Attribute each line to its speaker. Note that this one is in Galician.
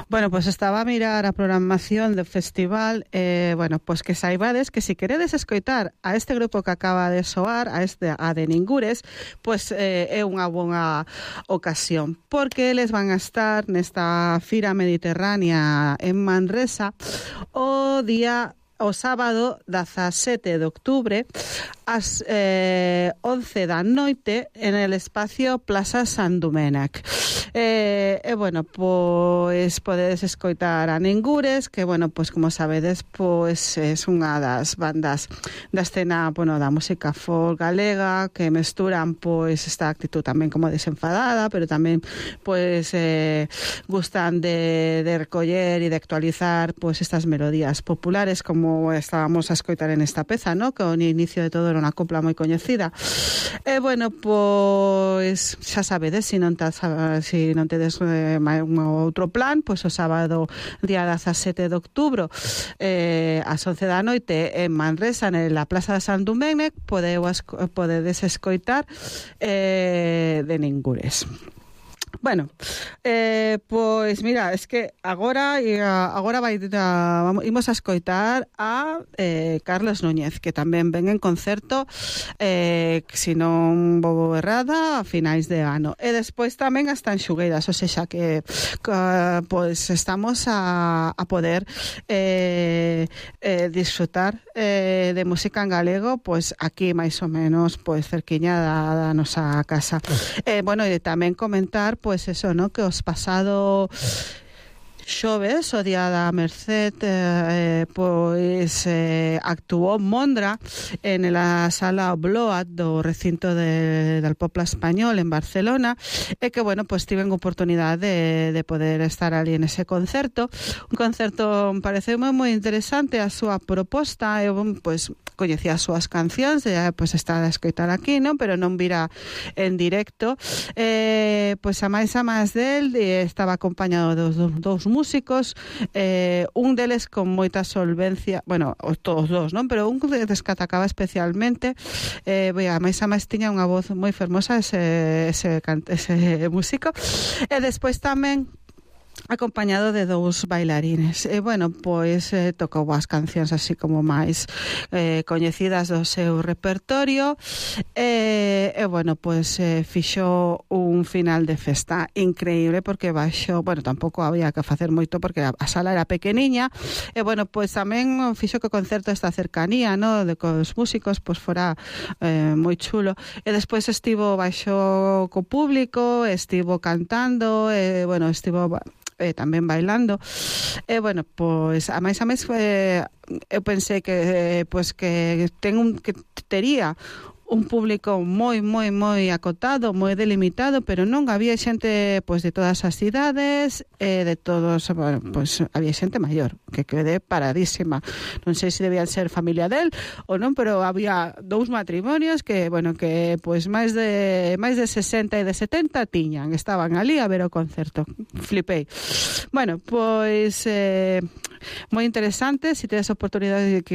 Speaker 1: Bueno, pues estaba a mirar a programación do festival, bueno, pues que saibades que si queredes escoitar a este grupo que acaba de soar, a de Ningures, pues é unha boa ocasión, porque eles van a estar nesta Fira Mediterránea en Manresa o sábado 17 de octubre ás 11 da noite en el espacio Plaza San Domènec. Bueno, pois podedes escoitar a Ningures, que, bueno, pois como sabedes, pois é unha das bandas da escena, bueno, da música folk galega, que mesturan pois esta actitud tamén como desenfadada, pero tamén pois gustan de recoller e de actualizar pois estas melodías populares, como estábamos a escoitar en esta peza, ¿no? Que ao inicio de todo era unha copla moi coñecida. Bueno, pois xa sabedes, se non tedes un outro plan, pois o sábado día 17 de outubro ás 11 da noite en Manresa, na Plaza de San Domènec, podedes escoitar de Ningures. Bueno, pois mira, es que agora imos a escoitar a Carlos Núñez, que tamén ven en concerto, se non vou errada, a finais de ano. E despois tamén hasta en Xugueiras, ou seja, que pois estamos a poder disfrutar de música en galego, pois aquí máis ou menos pois cerquiña da nosa casa. Bueno, e tamén comentar pois eso, ¿no? Que os pasado xoves, o día da Merced, pois actuou Mondra en la sala Bloat do recinto del Popla Español en Barcelona, e que, bueno, pois tiven oportunidade de poder estar ali en ese concerto. Un concerto pareceume moi interesante a súa proposta, e pois coñecía as súas cancións, pois está a escoitar aquí, non? Pero non vira en directo. Pois a máis del estaba acompañado dos dous músicos, un deles con moita solvencia, bueno, todos dos, non? Pero un que destacaba especialmente, a máis tiña unha voz moi fermosa ese músico, e despois tamén acompañado de dous bailarines. Bueno, pois tocou as cancións así como máis coñecidas do seu repertorio, e bueno, pois fixo un final de festa increíble, porque bueno, tampouco había que facer moito porque a sala era pequeniña, e bueno, pois tamén fixo que o concerto esta cercanía, no, de cos músicos, pois fora moi chulo. E despois estivo baixo co público, estivo cantando, bueno, estivo tamén bailando, bueno, pois a máis eu pensei que pois que tería un público moi acotado, moi delimitado, pero non, había xente pois de todas as idades, de todos, bueno, pois había xente maior, que quedé paradísima. Non sei se debían ser familia del ou non, pero había dous matrimonios que, bueno, que pois máis de 60 e de 70 estaban ali a ver o concerto. Flipei. Bueno, pois moi interesante, se tedes oportunidade de que